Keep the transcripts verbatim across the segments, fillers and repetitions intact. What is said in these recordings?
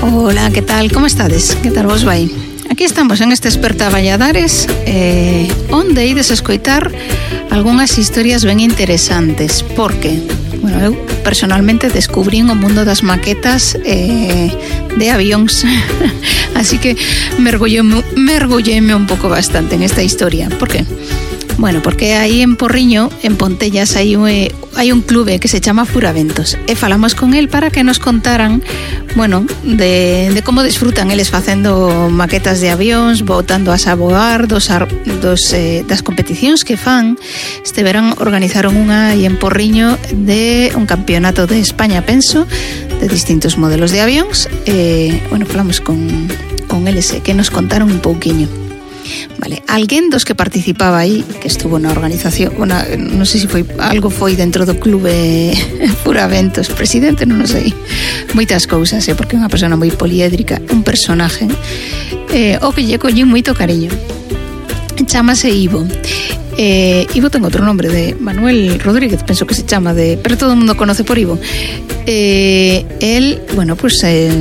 Hola, que tal? Como estades? Que tal vos vai? Aquí estamos en este Esperta Valladares, eh, onde ides escoitar algunhas historias ben interesantes, porque, bueno, eu personalmente descubrín o mundo das maquetas eh, de avións, así que mergulleme, mergulleme un pouco bastante en esta historia. Por qué? Bueno, porque aí en Porriño, en Pontellas, hai un, hai un clube que se chama Furaventos e falamos con el para que nos contaran, bueno, de, de como disfrutan eles facendo maquetas de avións, botando a voar dos, dos, eh, das competicións que fan. Este verán organizaron unha aí en Porriño de un campeonato de España, penso, de distintos modelos de avións. E, bueno, falamos con, con eles, que nos contaron un pouquiño. Vale, alguén dos que participaba aí, que estuvo na organización, una, non sei se foi algo foi dentro do clube Furaventos, presidente, non o sei, moitas cousas, eh, porque é unha persona moi poliédrica, un personaje, eh, o que lle collín moito cariño. Chámase Ivo. Eh, Ivo ten outro nombre, de Manuel Rodríguez, penso que se chama, de, pero todo o mundo conoce por Ivo. Eh, el, bueno, pues eh,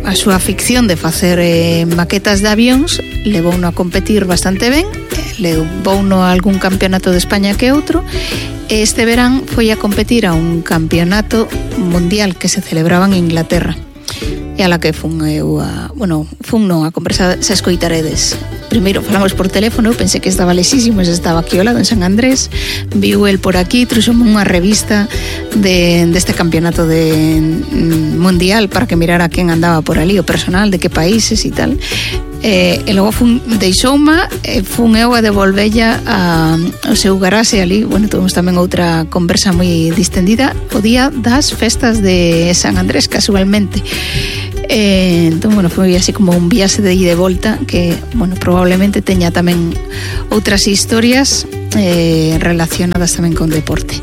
a súa afición de facer eh, maquetas de avións levouno a competir bastante ben, levouno a algún campeonato de España que outro. Este verán foi a competir a un campeonato mundial que se celebraba en Inglaterra, e a la que fun eu a, bueno, fun non a conversar, se escoitaredes. Primeiro falamos por teléfono, eu pensei que estaba lesísimo, se estaba aquí ao lado en San Andrés, viu el por aquí, trouxome unha revista de deste campeonato de mundial para que mirara quen andaba por ali, o personal, de que países e tal. Eh, e logo fun, deixouma e fun eu a devolvella a, ao seu garaxe ali. Bueno, tuvimos tamén outra conversa moi distendida o día das festas de San Andrés, casualmente. Eh, entón, bueno, foi así como un viaxe de ida e volta que, bueno, probablemente teña tamén outras historias eh, relacionadas tamén con deporte.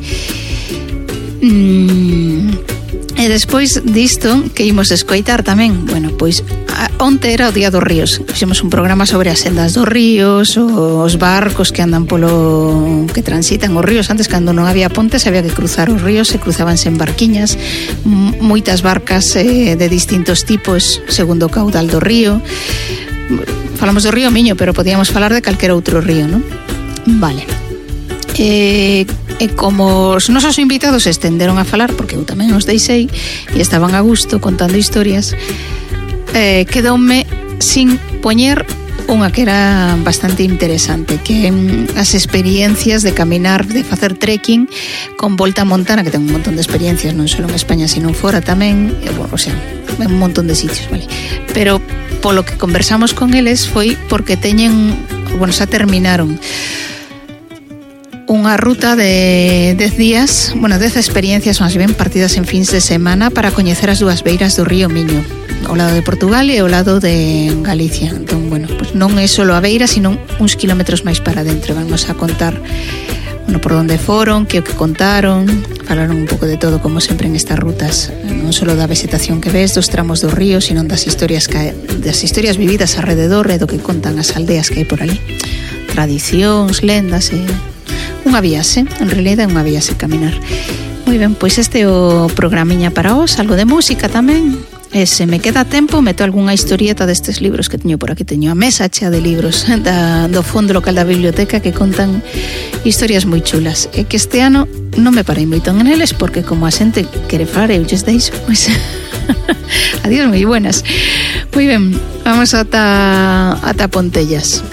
Mm, e despois disto que imos escoitar tamén, bueno, pois onte era o Día dos Ríos. Fixemos un programa sobre as sendas dos ríos, os barcos que andan polo, que transitan os ríos. Antes, cando non había pontes, había que cruzar os ríos, se cruzabanse en barquiñas, moitas barcas eh, de distintos tipos segundo o caudal do río. Falamos do río Miño, pero podíamos falar de calquera outro río, non? Vale. E, e como os nosos invitados se estenderon a falar, porque eu tamén os deixei e estaban a gusto contando historias, eh, quedoume sin poñer unha que era bastante interesante, que mm, as experiencias de caminar, de facer trekking con volta a montana, que ten un montón de experiencias, non só en España, sino fora tamén, e, bueno, o sea, en un montón de sitios, vale? Pero polo que conversamos con eles foi porque teñen, bueno, xa terminaron unha ruta de dez días, bueno, dez experiencias máis ben partidas en fins de semana para coñecer as dúas beiras do río Miño, ao lado de Portugal e ao lado de Galicia. Entón, bueno, pues non é só a beira, sino uns kilómetros máis para dentro. Vamos a contar, bueno, por onde foron, que o que contaron, falaron un pouco de todo, como sempre en estas rutas, non só da vegetación que ves, dos tramos do río, sino das historias que, das historias vividas alrededor e do que contan as aldeas que hai por ali, tradicións, lendas e unha viaxe, en realidad é unha viaxe caminar. Moi ben, pois este é o programiña para vos, algo de música tamén. E se me queda tempo, meto algunha historieta destes libros que teño por aquí. Teño a mesa chea de libros da, do fondo local da biblioteca que contan historias moi chulas. E que este ano non me parei moito en eles, porque como a xente quere falar eu lles deixo, pois adiós, moi buenas. Moi ben, vamos ata, ata Pontellas.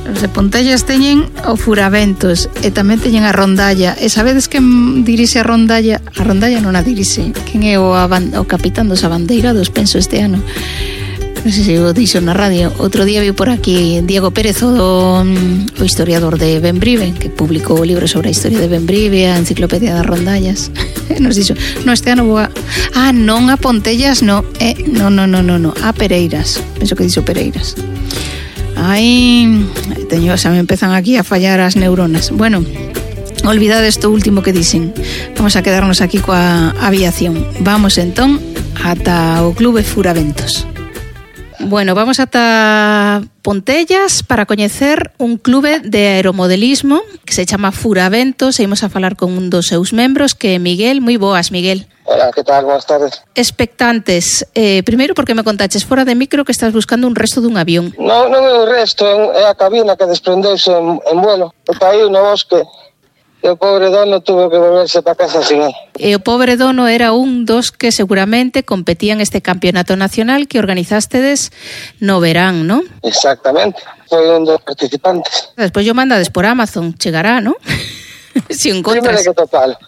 Os de Pontellas teñen o Furaventos e tamén teñen a rondalla. E sabedes quen dirixe a rondalla? A rondalla non a dirixe. Quen é o, o capitán dos abandeirados, penso, este ano? Non sei se o dixo na radio. Outro día viu por aquí Diego Pérez, o, o historiador de Bembrive, que publicou o libro sobre a historia de Bembrive, a enciclopedia das rondallas. Nos dixo, no, este ano vou a... Ah, non a Pontellas, no. Eh, no, no, no, no, no. A Pereiras. Penso que dixo Pereiras. Ai, teño, xa me empezan aquí a fallar as neuronas. Bueno, olvidade isto último que dixen. Vamos a quedarnos aquí coa aviación. Vamos entón ata o Clube Furaventos. Bueno, vamos ata Pontellas para coñecer un clube de aeromodelismo que se chama Furaventos e imos a falar con un dos seus membros, que é Miguel. Moi boas, Miguel. Hola, que tal? Boas tardes. Expectantes. Eh, primeiro, porque me contaches fora de micro que estás buscando un resto dun avión. Non, non é o resto, é a cabina que desprendeuse en, en vuelo. E caíu no bosque. E o pobre dono tuvo que volverse para casa sin él. E o pobre dono era un dos que seguramente competían este campeonato nacional que organizástedes no verán, ¿no? Exactamente, foi un dos participantes. Despois yo mandades por Amazon, chegará, ¿no? Si encontras. Primeiro que total.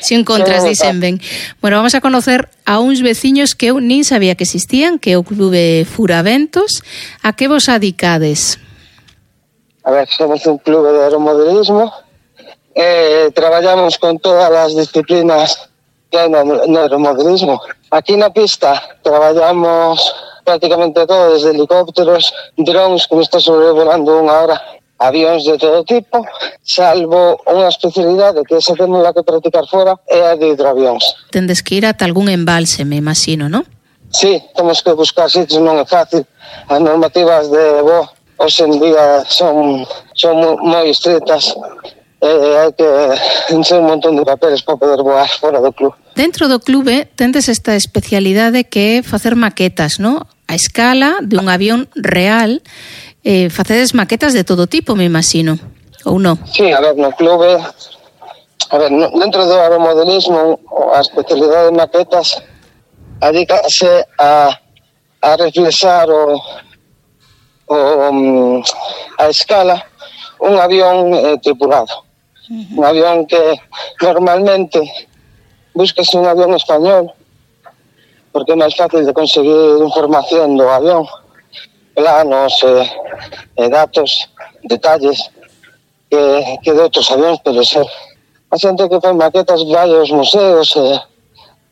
Si encontras, dicen ben. Bueno, vamos a conocer a uns veciños que eu nin sabía que existían, que é o Clube Furaventos. A que vos adicades? A ver, somos un clube de aeromodelismo. Eh, traballamos con todas as disciplinas que hai no, no aeromodelismo. Aquí na pista traballamos prácticamente todo, desde helicópteros, drones, que me está sobrevolando unha hora, avións de todo tipo, salvo unha especialidade que esa temos la que practicar fora, é a de hidroavións. Tendes que ir ata algún embalse, me imagino, ¿no? Sí, temos que buscar sitios, non é fácil. As normativas de voo hoxe en día son, son moi estritas. Eh, hai que encher un montón de papeles para poder voar fora do club. Dentro do clube tendes esta especialidade que é facer maquetas, ¿no? A escala de un avión real. Eh, facedes maquetas de todo tipo, me imagino, ou non? Sí, a ver, no clube, a ver, no, dentro do aeromodelismo, a especialidade de maquetas adícase a, a reflexar o, o, a escala un avión eh, tripulado. Un avión que normalmente buscas un avión español porque é máis fácil de conseguir información do avión, planos, eh, eh, datos, detalles que, que de outros avións, pero ser a xente que fai maquetas vai aos museos e eh,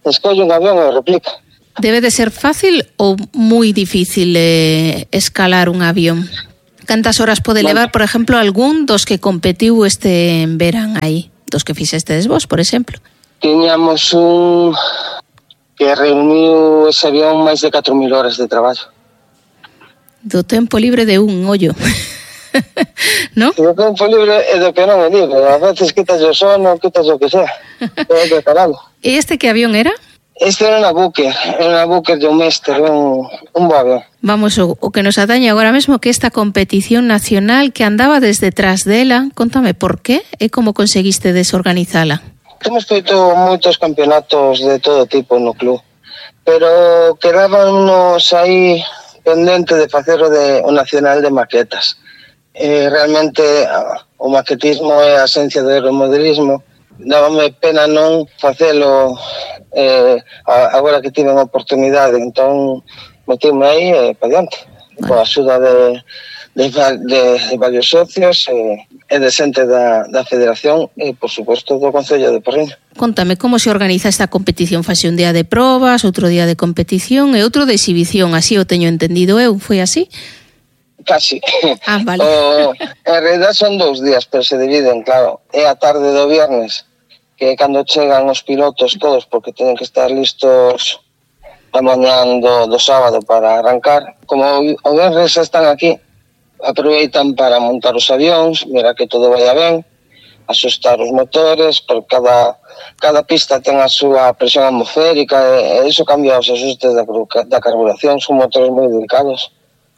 escolle un avión e replica. Debe de ser fácil ou moi difícil eh, escalar un avión? Cantas horas pode levar, por exemplo, algún dos que competiu este verán aí? Dos que fixestes vos, por exemplo? Tiñamos un que reuniu ese avión máis de catro mil horas de traballo. Do tempo libre de un ollo. ¿No? Do tempo libre e do que non é libre. A veces quitas o sono, quitas o que sea. Todo preparado. E este que avión era? Este era unha Booker, era unha Booker de un Mester, un, un bo avión. Vamos, o, o que nos atañe agora mesmo, que esta competición nacional que andaba desde tras dela, contame por qué e como conseguiste desorganizala. Temos feito moitos campeonatos de todo tipo no club, pero quedábamos aí pendente de facer o, de, o nacional de maquetas. Eh, realmente o maquetismo é a esencia do aeromodelismo. Dábame pena non facelo eh, agora que tive unha oportunidade, entón metíme aí e eh, para diante, vale. Coa axuda de, de, de, de varios socios e, e de xente da, da federación e, por suposto, do Concello de Porriño. Contame, como se organiza esta competición? Fase un día de probas, outro día de competición e outro de exhibición, así o teño entendido eu, foi así? Casi. Ah, vale. O, en realidad son dous días, pero se dividen, claro. É a tarde do viernes, que é cando chegan os pilotos todos, porque teñen que estar listos a mañán do, do sábado para arrancar. Como o viernes están aquí, aproveitan para montar os avións, mira que todo vaya ben, asustar os motores, por cada, cada pista ten a súa presión atmosférica, e, e iso cambia os ajustes da, da carburación, son motores moi delicados.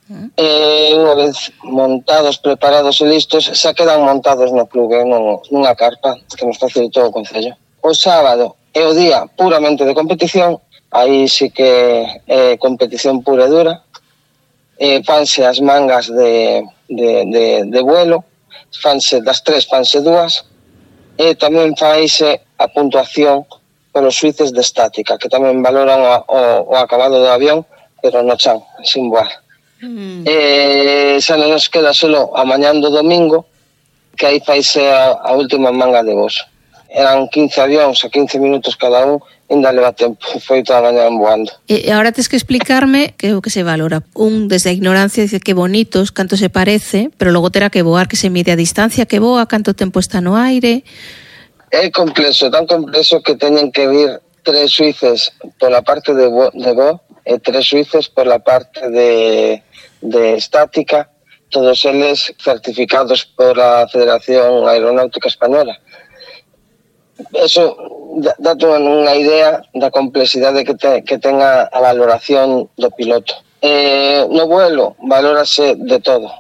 E unha vez montados, preparados e listos, xa quedan montados no clube, nunha carpa que nos facilitou o Concello. O sábado é o día puramente de competición, aí sí que é competición pura e dura. E fanse as mangas de, de, de, de vuelo, fanse das tres, fanse dúas, e tamén faise a puntuación polos suíces de estática, que tamén valoran o, o, o acabado do avión, pero no chan, sin voar. Mm. Eh, xa non nos queda solo a mañán do domingo, que aí faise a, a última manga de voz. Eran quince avións a quince minutos cada un, ainda leva tempo, foi toda a mañán voando. E agora tens que explicarme que o que se valora. Un, desde a ignorancia, dice que bonitos, canto se parece, pero logo terá que voar, que se mide a distancia que voa, canto tempo está no aire. É complexo, tan complexo que teñen que vir tres suíces pola parte de vo, de vo e tres suíces pola parte de, de estática, todos eles certificados por a Federación Aeronáutica Española. Eso dá-te unha idea da complexidade que, te, que tenga a valoración do piloto. Eh, no vuelo valórase de todo,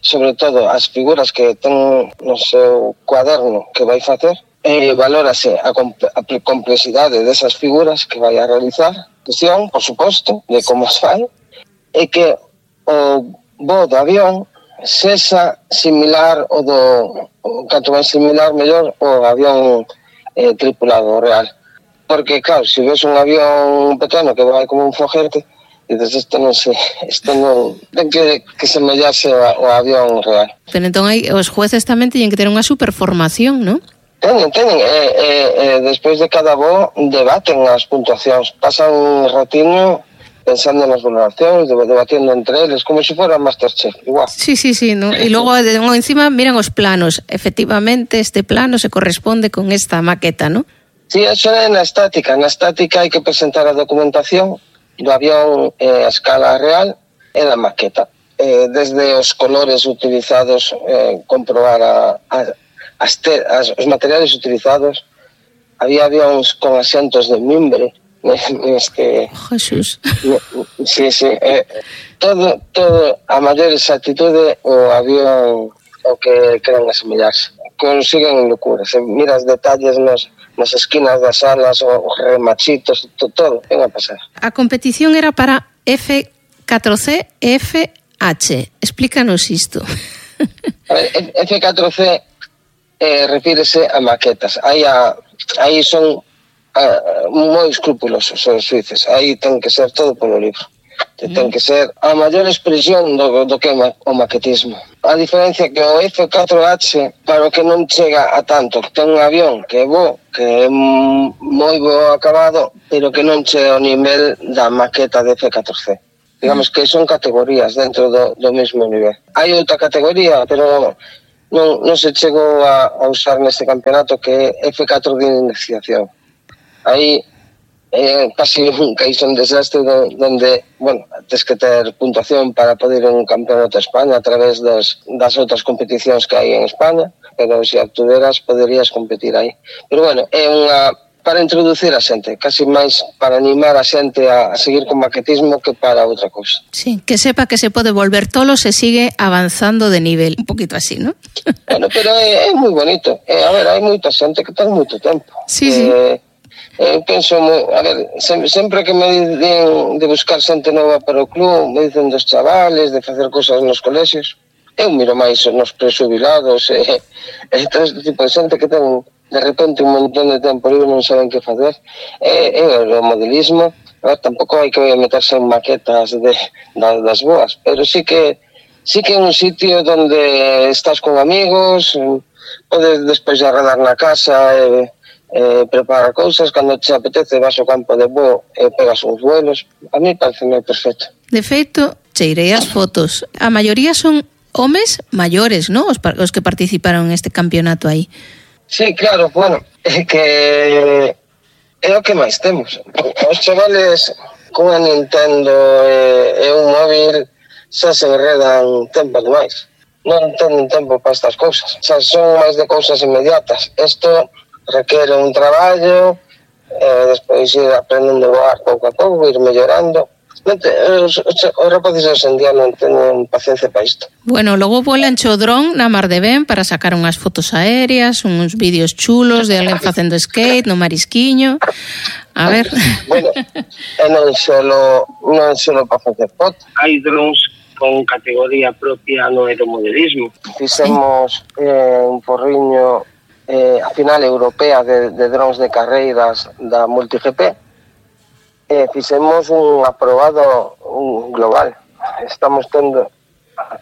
sobre todo as figuras que ten no seu cuaderno que vai facer, eh, valórase a, comp- a complexidade desas figuras que vai a realizar, cuestión, por suposto, de como se fai, e que o voo do avión sexa similar o do, o canto máis similar, mellor, o avión eh, tripulado real. Porque, claro, se ves un avión pequeno que vai como un foguete, dices, isto non se, isto non, ten que, que semellarse ao avión real. Pero entón hai, os jueces tamén teñen que ter unha superformación, non? Teñen, teñen, e, e, e despois de cada voo debaten as puntuacións, pasan un ratiño pensando nas valoracións, debatiendo entre eles, como se fora Masterchef, igual. Sí, sí, sí, ¿no? E logo encima miran os planos, efectivamente este plano se corresponde con esta maqueta, ¿no? Sí, eso é na estática, na estática hai que presentar a documentación do avión eh, a escala real e da maqueta. Eh, desde os colores utilizados, eh, comprobar a, a As te, as, os materiales utilizados, había avións con asientos de mimbre, este, Jesús. Sí, sí, eh, todo, todo a maior exactitude o avión o que queran asemellarse. Consiguen locuras, eh, miras detalles nos, nas esquinas das alas, os remachitos, to, todo, ven a pasar. A competición era para F catro C e F H. Explícanos isto. F catro C Eh, refírese a maquetas. Aí, a, aí son a, moi escrupulosos os suíces. Aí ten que ser todo polo libro. Mm. Ten que ser a maior expresión do, do que é o maquetismo. A diferencia que o F catro H, para o que non chega a tanto, ten un avión que é bo, que é moi bo acabado, pero que non chega ao nivel da maqueta de F catro C. Digamos que son categorías dentro do, do mesmo nivel. Hai outra categoría, pero non, non se chegou a, a usar neste campeonato, que é F catro de iniciación. Aí é casi un caíse un desastre donde, bueno, tens que ter puntuación para poder ir a un campeonato de España a través das, das outras competicións que hai en España, pero se actueras poderías competir aí. Pero bueno, é unha para introducir a xente, casi máis para animar a xente a, a seguir con maquetismo que para outra cousa. Sí, que sepa que se pode volver tolo se sigue avanzando de nivel, un poquito así, ¿no? Bueno, pero é, é moi bonito. Eh, a ver, hai moita xente que ten moito tempo. Sí, eh, sí. Eu penso, a ver, sempre, sempre que me dicen de buscar xente nova para o club, me dicen dos chavales, de facer cosas nos colexios, eu miro máis nos presubilados e, e todo este tipo de xente que ten de repente un montón de tempo libre, non saben que facer. E, e o modelismo, a ver, tampouco hai que meterse en maquetas de, da, das boas, pero sí que sí que é un sitio donde estás con amigos, podes despois de arredar na casa e, e preparar cousas, cando te apetece vas ao campo de voo e pegas uns vuelos. A mí parece moi perfecto. De feito, cheirei as fotos. A maioría son homes maiores, ¿no? Os, os que participaron en este campeonato aí. Sí, claro, bueno, é que é o que máis temos. Os chavales con a Nintendo e, e un móvil xa se enredan tempo demais. Non tenen tempo para estas cousas. Xa son máis de cousas inmediatas. Isto requere un traballo, e despois ir aprendendo a voar pouco a pouco, ir mellorando. Os, os, os rapaces hoxe en día non teñen paciencia para isto. Bueno, logo volan cho dron na mar de Ben para sacar unhas fotos aéreas, uns vídeos chulos de alguén facendo skate no marisquiño. A ver. Bueno, e non solo, non solo para facer fotos. Hai drones con categoría propia no aeromodelismo. Fixemos eh, un porriño eh, a final europea de, de drones de carreiras da MultiGP. Eh, fixemos un aprobado un global. Estamos tendo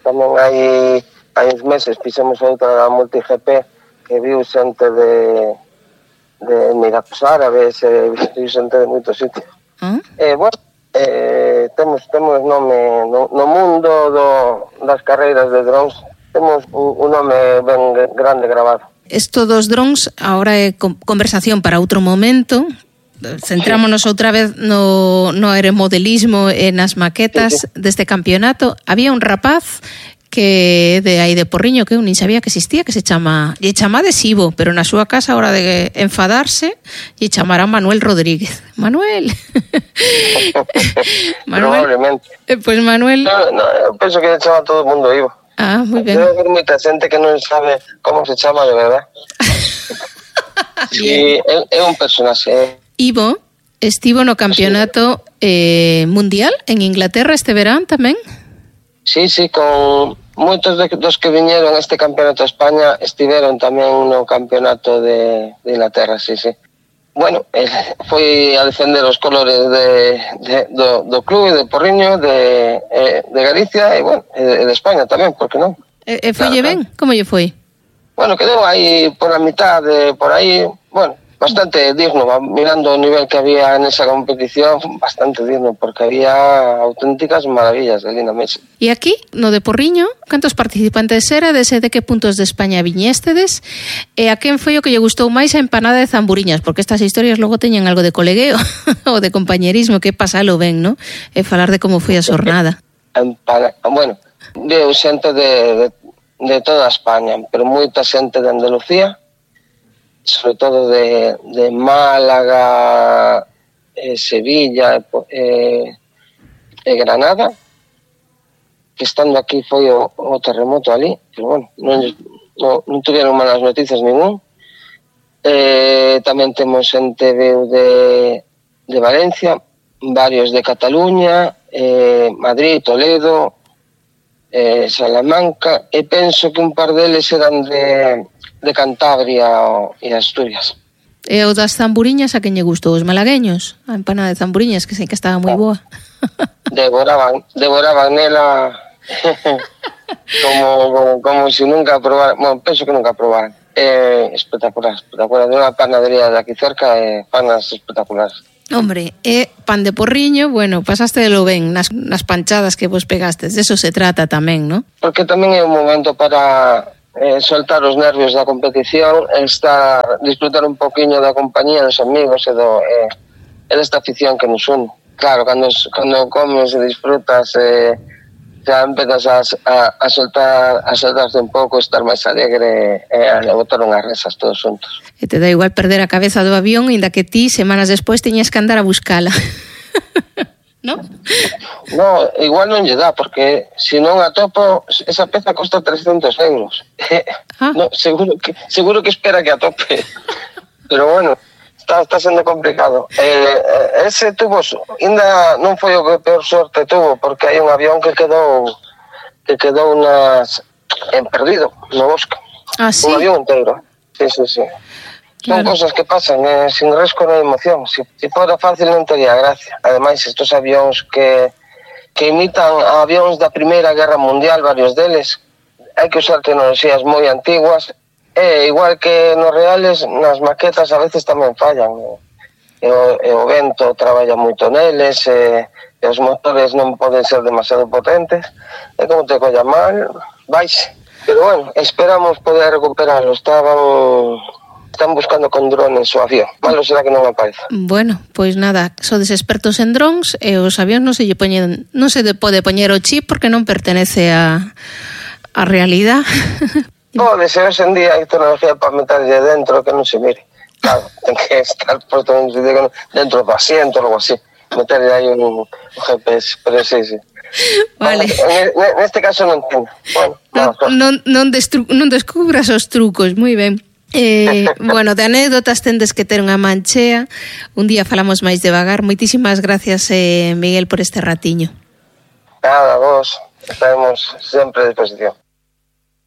tamén hai, hai uns meses fixemos outra da MultiGP que viu xente de de Emiratos Árabes, e viu xente de moitos sitios. ¿Mm? Eh, bueno, eh, temos temos nome no, no mundo do, das carreiras de drones, temos un, un nome ben grande grabado. Esto dos drones agora é conversación para outro momento, centrámonos sí. outra vez no, no aeromodelismo e nas maquetas sí, sí. deste campeonato. Había un rapaz que de aí de Porriño que eu nin sabía que existía, que se chama, lle chama adhesivo, pero na súa casa a hora de enfadarse lle chamará Manuel Rodríguez. Manuel. Manuel. Probablemente. Eh, pues Manuel. No, no, eu penso que lle chama todo o mundo Ivo. Ah, moi ben. Debe haber moita xente que non sabe como se chama de verdad. Sí, é, é un personaxe. Ivo estivo no campeonato eh, mundial en Inglaterra este verán tamén. Sí, sí, con moitos de, dos que viñeron a este campeonato de España estiveron tamén no campeonato de, de Inglaterra, sí, sí. Bueno, eh, foi a defender os colores de, de, do, do club de Porriño, de, eh, de Galicia e, bueno, de, de España tamén, por que non? E, e foille claro, ben? Claro. Como lle foi? Bueno, quedou aí por a mitad, de, por aí, bueno, bastante digno, mirando o nivel que había nesa competición, bastante digno, porque había auténticas maravillas ali na mesa. E aquí, no de Porriño, cantos participantes era, desde de que puntos de España viñéstedes, e a quen foi o que lle gustou máis a empanada de zamburiñas, porque estas historias logo teñen algo de colegueo, ou de compañerismo, que pasalo ben, ¿no? E falar de como foi a xornada. Empana... Bueno, veo xente de, de, de toda España, pero moita xente de Andalucía, sobre todo de, de Málaga, eh, Sevilla e eh, eh, Granada, que estando aquí foi o, o terremoto ali, pero bueno, non, non, non tuvieron malas noticias ningún. Eh, tamén temos xente de, de Valencia, varios de Cataluña, eh, Madrid, Toledo, eh, Salamanca, e penso que un par deles eran de... de Cantabria e Asturias. E o das zamburiñas a quen lle gustou? Os malagueños? A empanada de zamburiñas, que sei que estaba moi boa. Devoraban, devoraban nela como, como, como si nunca probaran. Bueno, penso que nunca probaran. Eh, espectacular, espectacular. De unha panadería de aquí cerca, eh, panas espectaculares. Hombre, e pan de Porriño, bueno, pasaste de lo ben nas, nas panchadas que vos pegastes. De eso se trata tamén, ¿no? Porque tamén é un momento para... Eh, soltar os nervios da competición, estar, disfrutar un poquinho da compañía dos amigos e, do, eh, e desta afición que nos une. Claro, cando, cando comes e disfrutas, eh, xa empezas a, a, a soltar a soltarse un pouco, estar máis alegre e eh, a botar unhas risas todos juntos. E te dá igual perder a cabeza do avión, inda que ti, semanas despois, teñas que andar a buscala. ¿No? No, igual non lle dá, porque se non atopo, esa peza costa trescentos euros. Ah. No, seguro que seguro que espera que atope. Pero bueno, está, está sendo complicado. Eh, ese tuvo, ainda non foi o que peor sorte tuvo, porque hai un avión que quedou que quedou nas, en perdido no bosque. Ah, sí? Un avión inteiro. Sí, sí, sí. Son claro. Cosas que pasan, eh, sin risco non hai emoción. Se si, si fora fácil non tería gracia. Ademais, estos avións que, que imitan avións da Primeira Guerra Mundial, varios deles, hai que usar tecnoloxías moi antiguas, e igual que nos reales, nas maquetas a veces tamén fallan. E o, e o vento traballa moito neles, e, e os motores non poden ser demasiado potentes, e como te colla mal, vais. Pero bueno, esperamos poder recuperarlo. Estaban... Están buscando con drones o avión. Malo será que non apareza. Bueno, pois nada, sodes expertos en drones e os avións non se lle poñen, non se pode poñer o chip porque non pertenece a a realidad. Pode ser, hoxe en día hai tecnología para meterlle dentro que non se mire. Claro, ten que estar posto dentro do asiento ou algo así. Meterlle aí un, un G P S, pero sí, sí. Vale. En este caso non ten. Bueno, non, non, non, destru, non descubras os trucos, moi ben. Eh, bueno, de anécdotas tendes que ter unha manchea. Un día falamos máis devagar. Moitísimas gracias, eh, Miguel, por este ratiño. Nada, vos estaremos sempre a disposición.